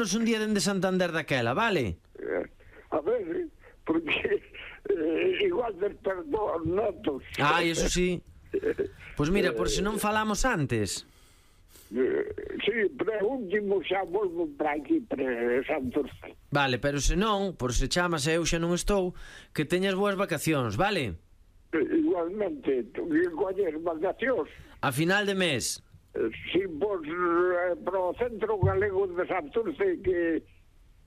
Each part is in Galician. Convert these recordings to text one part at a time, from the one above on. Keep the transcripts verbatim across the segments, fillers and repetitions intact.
Chamámonos un día dende Santander daquela, vale? Eh, a ver, porque eh, igual despertou os netos. Ai, eso sí. Pois mira, por se non falamos antes. Eh, sí, preúltimo xa volvo para aquí, para Santurce. Vale, pero se non, por se chamas e eu xa non estou, que teñas boas vacacións, vale? Eh, igualmente, tu que coller vacacións. A final de mes. Eh, si vos eh, pro Centro Galego de Santurce, que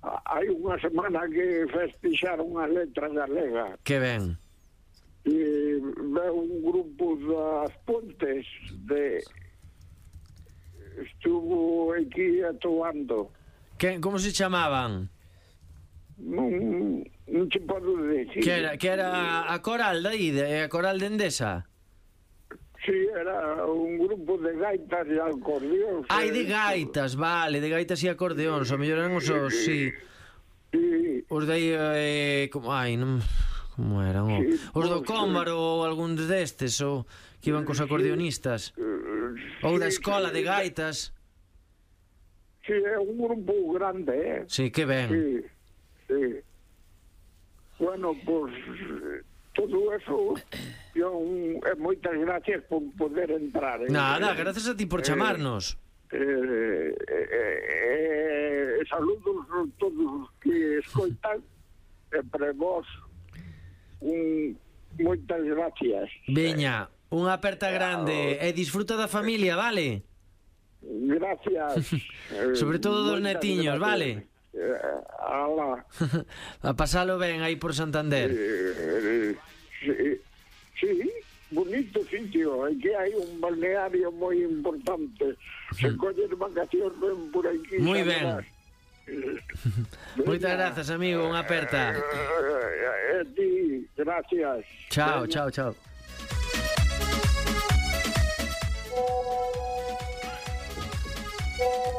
ah, hai unha semana que festixaron a letra galega. Que ben. E veo un grupo das Pontes de estuvo aquí atuando. Que, como se chamaban? Non, non te podo decir. Que era, que era a coral de aí, de, a coral de Endesa? Sí, era un grupo de gaitas e acordeóns. Ai, de gaitas, vale, de gaitas e acordeóns, o mellor eran os, os sí. Sí. Os de aí, eh, como, ai, non... Como eran? O, Sí, os do pues, Cómbaro ou algún destes, ou que iban cos acordeonistas? Ou da escola de gaitas? Sí, é un grupo grande, eh? Sí, que ben. Sí, sí. Bueno, pues todo eso, yo, eh, moitas gracias por poder entrar. Eh? Nada, gracias a ti por chamarnos. Eh, eh, eh, saludos a todos que escoitan, e para vos un, moitas gracias. Veña, unha aperta grande e disfruta da familia, vale? Gracias. Sobre todo dos netiños, vale? Eh, ala. A pasalo ben aí por Santander. Eh, sí, sí, bonito sitio, é que hai un balneario moi importante. Se colles vacacións ven por aquí. Moi ben. Moitas grazas, amigo, unha aperta. Eh, a ti, gracias. Chao, chao, chao.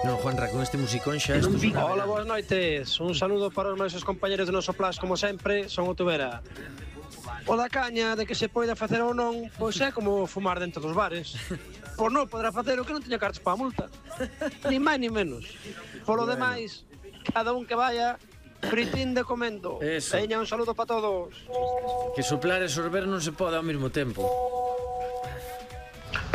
Non, Juanra, con este musicón xa isto é... Hola, boas noites. Un saludo para os meus compañeros do noso Plas, como sempre, son o Tubera. O da caña de que se poida facer ou non, pois é como fumar dentro dos bares. Pois non poderá facer o que non teña cartas para a multa. Ni máis ni menos. Por lo bueno. Demais, cada un que vaya fritín de comendo. Eso. Veña, un saludo para todos. Que soplar e sorber non se pode ao mesmo tempo.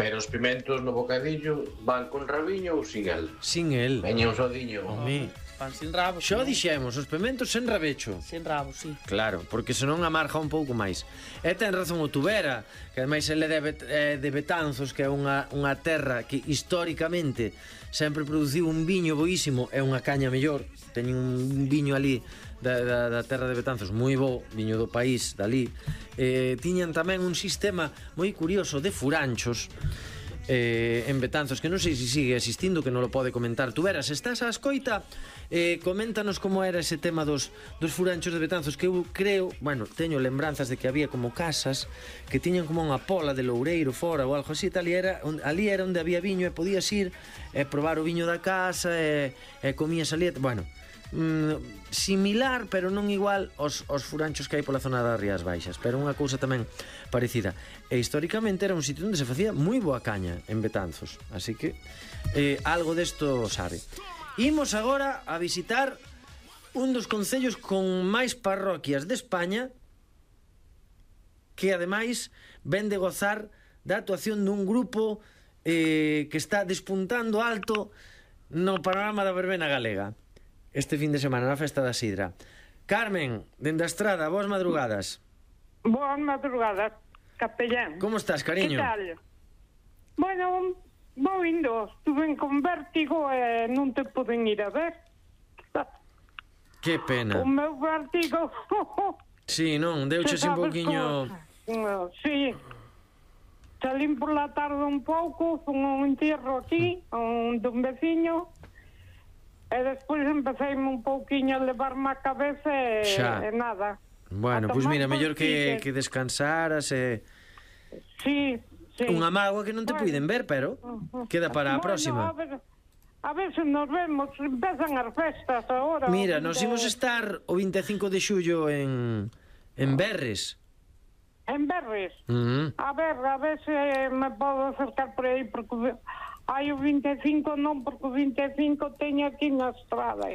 Pero os pimentos no bocadillo van con rabiño ou sin el? Sin el. Veña un sodiño. Home. Pan sin rabo. Xo dixemos, os pimentos sen rabecho. Sen rabo, sí. Claro, porque senón amarga un pouco máis. E ten razón o Tubera, que ademais ele é de, Bet eh, de Betanzos, que é unha, unha terra que históricamente sempre produciu un viño boísimo e unha caña mellor. Teñen un viño ali da, da, da terra de Betanzos moi bo, viño do país dali. Eh, tiñan tamén un sistema moi curioso de furanchos eh, en Betanzos, que non sei se sigue existindo, que non lo pode comentar Tubera. Se estás a escoita, eh, coméntanos como era ese tema dos, dos furanchos de Betanzos, que eu creo, bueno, teño lembranzas de que había como casas que tiñan como unha pola de loureiro fora ou algo así, tal, e era, ali era onde había viño e podías ir e probar o viño da casa e, e comías ali, bueno, mm, similar, pero non igual aos, aos furanchos que hai pola zona das Rías Baixas, pero unha cousa tamén parecida. E históricamente era un sitio onde se facía moi boa caña en Betanzos, así que eh, algo desto sabe. Imos agora a visitar un dos concellos con máis parroquias de España, que ademais ven de gozar da actuación dun grupo eh, que está despuntando alto no panorama da verbena galega este fin de semana, na festa da Sidra. Carmen, dende a Estrada, boas madrugadas. Boas madrugadas, capellán. Como estás, cariño? Que tal? Bueno, vou indo, estuve con vértigo e non te poden ir a ver. Que pena. O meu vértigo... Sí, non, deuche un pouquiño... Sí, salín por la tarde un pouco, fun un entierro aquí, un dun veciño, e despois empecéime un pouquiño a levarme a cabeza e, e nada. Bueno, pois pues mira, mellor que, que descansaras e... Sí, sí. Unha mágoa que non te bueno. Puiden ver, pero queda para a bueno, próxima. A ver, a ver se nos vemos, empezan as festas agora. Mira, nos imos estar o vinte e cinco de xullo en, en Berres. En Berres? Uh -huh. A ver, a ver se me podo acercar por aí, porque hai o vinte e cinco non, porque o vinte e cinco teño aquí na Estrada.